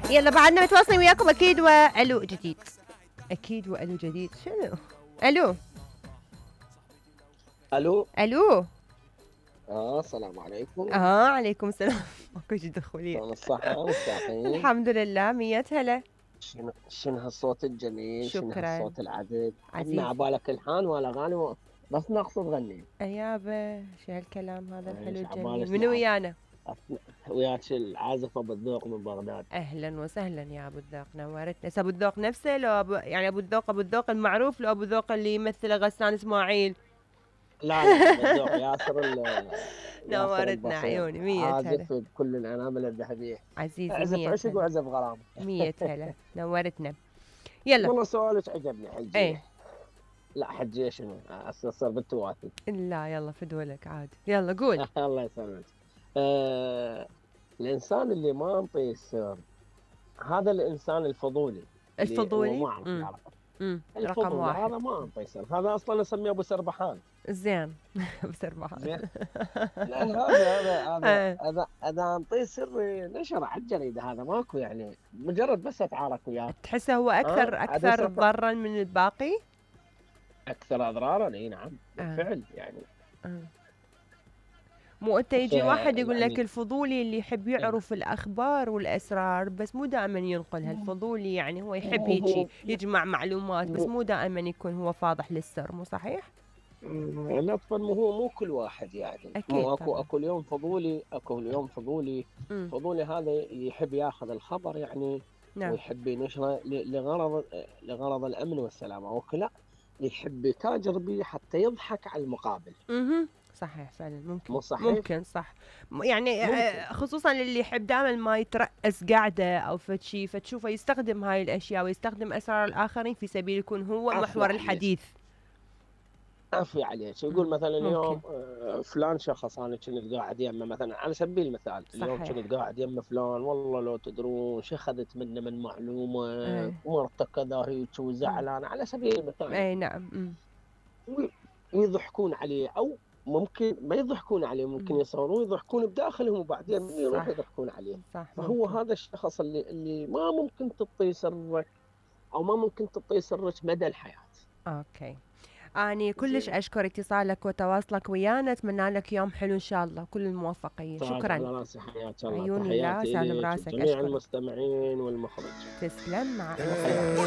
يلا بعدنا متواصلين وياكم اكيد، والو جديد. اكيد والو جديد. شنو الو؟ الو. الو. السلام عليكم. عليكم السلام. ماكو شي دخولين. شلون الصحة والساقين؟ الحمد لله، 100 هلا. شنو هالصوت الجميل، شنو شكرا هالصوت العذب، عزيز. عندنا عبالك الحان والاغاني بس نقصد تغني. يابا شو هالكلام هذا الحلو ايش الجميل؟ عبالك منو ويانا؟ وياك العازف ابو الذوق من بغداد. اهلا وسهلا يا ابو الذوق، نورتنا. ابو الذوق نفسه لو يعني ابو الذوق المعروف، لو ابو الذوق اللي يمثله غسان اسماعيل؟ لا ابو الذوق ياسر ياسر نورتنا البصير، عيوني، 100 هلا. عازف بكل الانامل الذهبيه. عزيزي، اعزف 100 عشق هلا. واعزف غرام. 100 هلا، نورتنا. يلا. والله سؤالك عجبني حجي. ايه. لا حجي شنو؟ صار بالتواتي. لا يلا فدولك عاد، يلا قول. الله يسلمك. الإنسان اللي ما انطيه السر هذا الإنسان الفضولي، اللي هو الفضولي. ما أعرف يعرف. رقم الفضولي واحد. هذا ما انطيه سر، هذا أصلا أسميه أبو سربحان. زين. بسرعة. زين. لأن هذا أنطيه سر نشر على الجريدة، هذا ماكو يعني، مجرد بس أتعارك وياه. تحسه هو أكثر ضررا من الباقي؟ أكثر أضرارا، إي نعم بالفعل يعني. مو انت يجي واحد يقول يعني لك الفضولي اللي يحب يعرف الاخبار والاسرار، بس مو دائما ينقلها. الفضولي يعني هو يحب هيجي يجمع معلومات، بس مو دائما يكون هو فاضح للسر، مو صحيح؟ لطفا مو كل واحد يعني، اكيد مو طبعا. اكو اليوم فضولي، اكو اليوم فضولي. مم. فضولي هذا يحب ياخذ الخبر يعني، نعم. ويحب ينشره لغرض الامن والسلامه، وكلا يحب يتاجر به حتى يضحك على المقابل. صحيح فعلا، ممكن. مو صحيح؟ ممكن صح. يعني ممكن. خصوصا اللي يحب دائما ما يترأس قاعده او فتشي، فتشوفه يستخدم هاي الاشياء ويستخدم اسرار الاخرين في سبيل يكون هو محور الحديث. عفي عليك، يقول مثلا اليوم ممكن. فلان شخص انا كنت قاعد يمه، مثلا على سبيل المثال اليوم صحيح. كنت قاعد يمه فلان، والله لو تدرون شو اخذت منه من معلومه، مرته كذا هيك وزعلان، على سبيل المثال. اي نعم. ويضحكون عليه، او ممكن ما يضحكون عليه، ممكن يصورون يضحكون بداخلهم وبعدين من يروح يضحكون عليه. صح. فهو ممكن. هذا الشخص اللي ما ممكن تعطيه سرك، او ما ممكن تعطيه سرك مدى الحياه. اوكي. أني كلش أشكر اتصالك وتواصلك ويانا، أتمنى لك يوم حلو إن شاء الله، كل الموفقية. شكرا. على راسي، حياك الله. عيوني لا تحياتي سالم لك راسك، جميع أشكرك. المستمعين والمخرج. تسلم، مع السلامة.